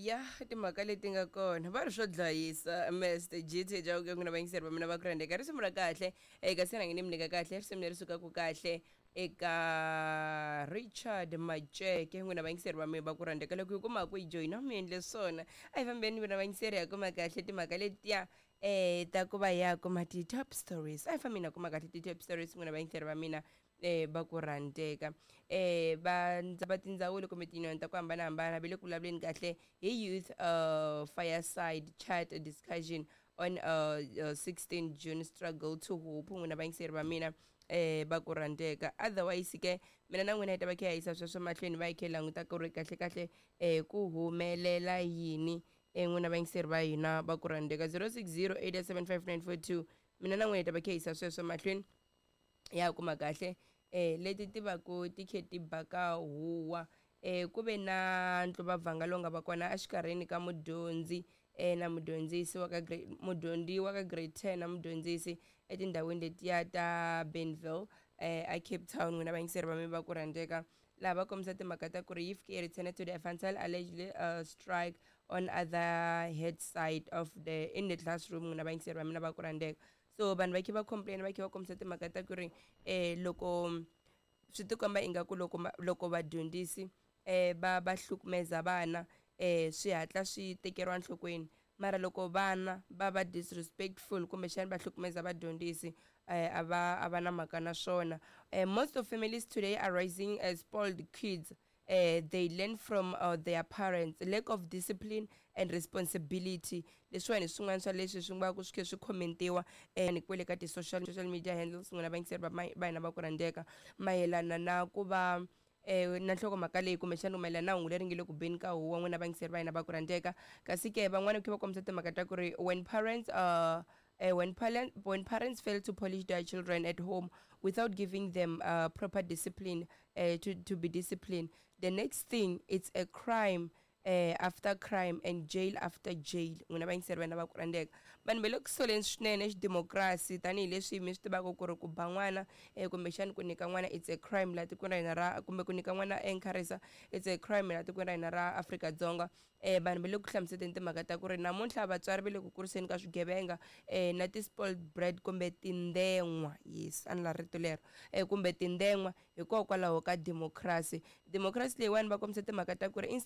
Ya timhaka leti nga kona va ri swo dlayisa Mr GT Chauke n'wina vayingiseri va mina va ku rhandzeka risimu ra kahle eka se rhangi ni mi nyika kahle risimu leri sukaka kahle eka Richard Maceke n'wina vayingiseri va mina va ku rhandzeka loko yi kuma ku yi joyina mi endle swona a hi fambeni n'wina vayingiseri ya kuma kahle timhaka letiya ta ku va ya kuma ti-top stories a hi fambeni ya kuma kahle ti-top stories n'wina vayingiseri va mina va ku rhandzeka va va tindzawulo kumbe tinyoni ta ku hambanahambana va le ku vulavuleni kahle hi youth fireside chat discussion on 16 June struggle to hope n'wina vayingiseri va mina va ku rhandzeka otherwise ke mina na n'wina hi ta va kha hi yisa sweswo mahlweni va hi kha hi languta ku ri kahle kahle ku humelela yini n'wina vayingiseri va hina va ku rhandzeka 060 875 mina na n'wina hi ta va kha hi yisa sweswo mahlweni ya kuma kahle leti ti va ku ti khe ti ba ka huwa ku ve na ntluvavhanga lowu nga va kona exikarhini ka mudyondzi na mudyondzisi wa ka grade mudyondzi wa ka grade 10 na mudyondzisi etindhawini letiya ta Benville a Cape Town n'wina vayingiseri va mi va ku rhandzeka laha va kombisa timhaka ta ku ri yi fike yi return to the frontal allegedly strike on other head side of the in the classroom n'wina vayingiseri va mina va ku rhandzeka so vanhu va khe va complain va khe va kombisa timhaka ta ku ri loko swi tikomba ingaku loko loko vadyondzisi va va hlukumeza vana swi hatla swi tekeriwa enhlokweni mara loko vana va va disrespectful kumbexana va hlukumeza vadyondzisi a va a va na mhaka na swona. Most of families today are raising spoiled kids. They learn from their parents lack of discipline and responsibility. Leswiwani hi swin'wana swa leswi swi nga ku swi khe swi commentiwa ni kwele ka ti-social media handles n'wina vayingiseri va va hina va ku rhandzeka mayelana na ku va na nhlokomhaka leyi kumbexana mayelana na hungu leri nge le ku beni ka huwa n'wina vayingiseri va hina va ku rhandzeka kasi ke van'wana khe va kombisa timhaka ta ku ri when parents fail to polish their children at home without giving them proper discipline, to be disciplined, the next thing it's a crime after crime and jail after jail. N'wina vayingiseri va hina va ku rhandzeka vanhu va le ku soleni swinene xidemokirasi tanihileswi mi swi tivaka ku ri ku ba n'wana kumbexani ku nyika n'wana it's a crime laha tikweni ra hina ra kumbe ku nyika n'wana encourage it's a crime laha tikweni ra hina ra Afrika-Dzonga. Vanhu va le ku hlamuseleni timhaka ta ku ri namuntlha vatswari va le ku kuriseni ka swigevenga na ti-spoiled brat kumbe tinden'wa yes a ni la rito lero kumbe tinden'wa hikokwalaho ka democracy. Democracy leyiwani va kombisa timhaka ta ku ri instead